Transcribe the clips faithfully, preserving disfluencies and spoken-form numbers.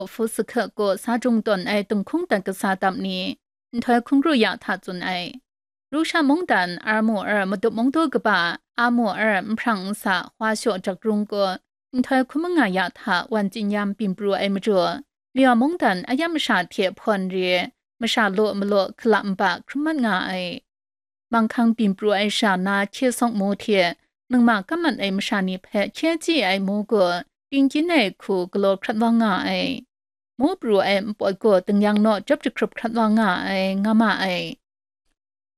Futsakhe kaw sa jung tawn ai dinghkung dat kasa dap ni, nhtoi hkungru ya hta tsun ai. Rusha mungdan Armu er madup mungdaw kaba Amu er nhprang nsa hwa shaw jak rung kaw, nhtoi hkun manga ya hta wan tsin yam byin pru ai majaw, Mayaw mungdan a yam masha hte hpawn re, masha law malaw hkalap nba hkrum mat nga ai. Manghkang byin pru ai sha na hkye sawk mu hte, ningma kam mat ai masha ni hpe hkye chye ai mu gaw, tingkyin ai hku galaw hkrat wa nga ai. Mu pru ai npawt gaw dingyang naw jawp jahkrup hkrat wa nga ai, nga ma ai.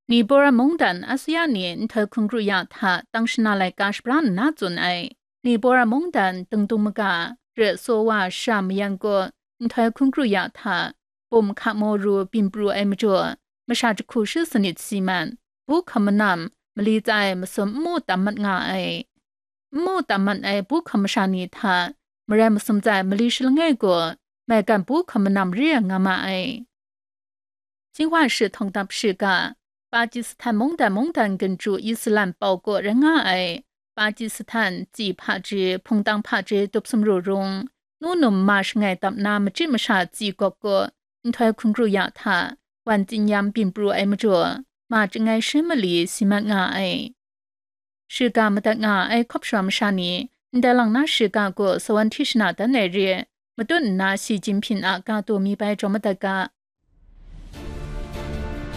Nibora mungdan Asuya ni nhtoi hkungru ya hta tang shana laika shabra nna tsun ai. Nibora mungdan dingdung maga, re so wa sha mayan gaw nhtoi hkungru ya hta, bum hka moru byin pru ai majaw, masha jahku shi sanit si mat, bu hkam manam, mali tsa ai masum n mu tam mat nga ai. N mu tam mat ai bu hkam masha ni hta, marai masum tsa ai mali shi langai gaw, maigan bu hkam manam re ai nga ma ai. Jinghwa shi htawng dap shiga, Pakistan mungdan mungdan ginju Islam pau kaw rai nga ai, Pakistan tsi hpaji, hpungtang hpaji dup sumru rung, nu num ma shangai dap na machyi masha tsi gawp kaw, nhtoi hkungru ya hta, wan tsin yam byin pru ai majaw, ma chyangai shi mali si mat nga ai. Shiga madat nga ai hkawp shara masha ni, ndai lang na shiga gaw sawan hti shana dan ai re, matut nna Shi Jinhping a ga taw mi bai jaw madat ga.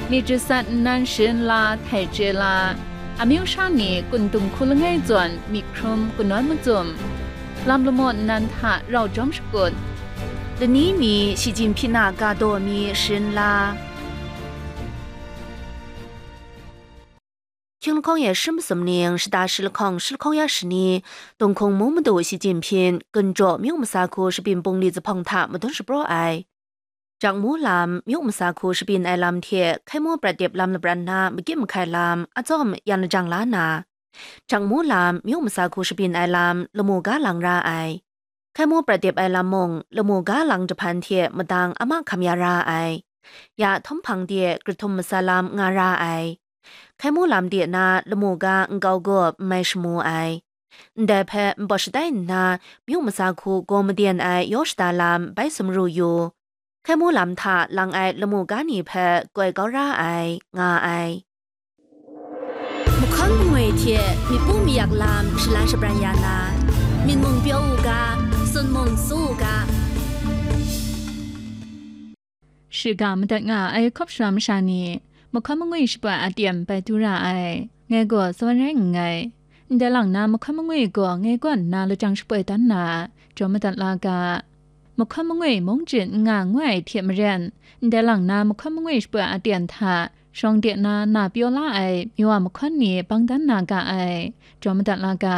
Myit jasat nnan sharin la, htai chye la, amyu sha ni kun dung hku langai zawn myit hkrum kanawn macum, lam lamaw nnan hta rau jawm shakut, lani mi Shi Jinhping a ga taw mi sharin la. Hkying lahkawng e shi masum ning, shata shi lahkawng, shi lahkawng ya shani, Dinghkung mung madu Shi Jinhping, Ginjaw myu masa hku shabyin bungli zuphpawng hta madun shapraw ai. Jakmu lam, myu masa hku shabyin ai lam hte Hkaimu Pratip lam lapran na magyin mahkai lam, atsawm yan lajang la na, Jakmu lam, myu masa hku shabyin ai lam, lamu ga lang ra ai. Hkaimu Pratip ai lam mung, lamu ga lang jahpan hte madang a mahkam ya ra ai. Ya htum hpang de, Krathum masa lam nga ra ai. Hkaimu lam de na lamu ga nkau gup n mai shamu ai. Ndai hpe npawt shatai nna, myu masa hku gaw maden ai yaw shada lam bai sumru yu. Hkaimu lam hta lang ai lamu ga ni hpe koi kau ra ai, nga ai. Mahkawn mangwi hte myit pu mayak lam shalan shabran ya na, myit mung pyaw u ga, sun mung su u ga. Shiga madat nga ai hkawp shara masha ni, mahkawn mangwi shapoi a teng bai du ra ai, ngai gaw sawan rai nngai. Ndai lang na mahkawn mangwi gaw ngai kaw nna lajang shapoi dan na, jaw madat la ga. Mahkawn mangwi mung jin n nga ngoi ai hte maren, ndai lang na mahkawn mangwi shapoi a teng hta shawng de na na pyaw la ai miwa mahkawn ni bang dan na ga ai, jaw madat la ga.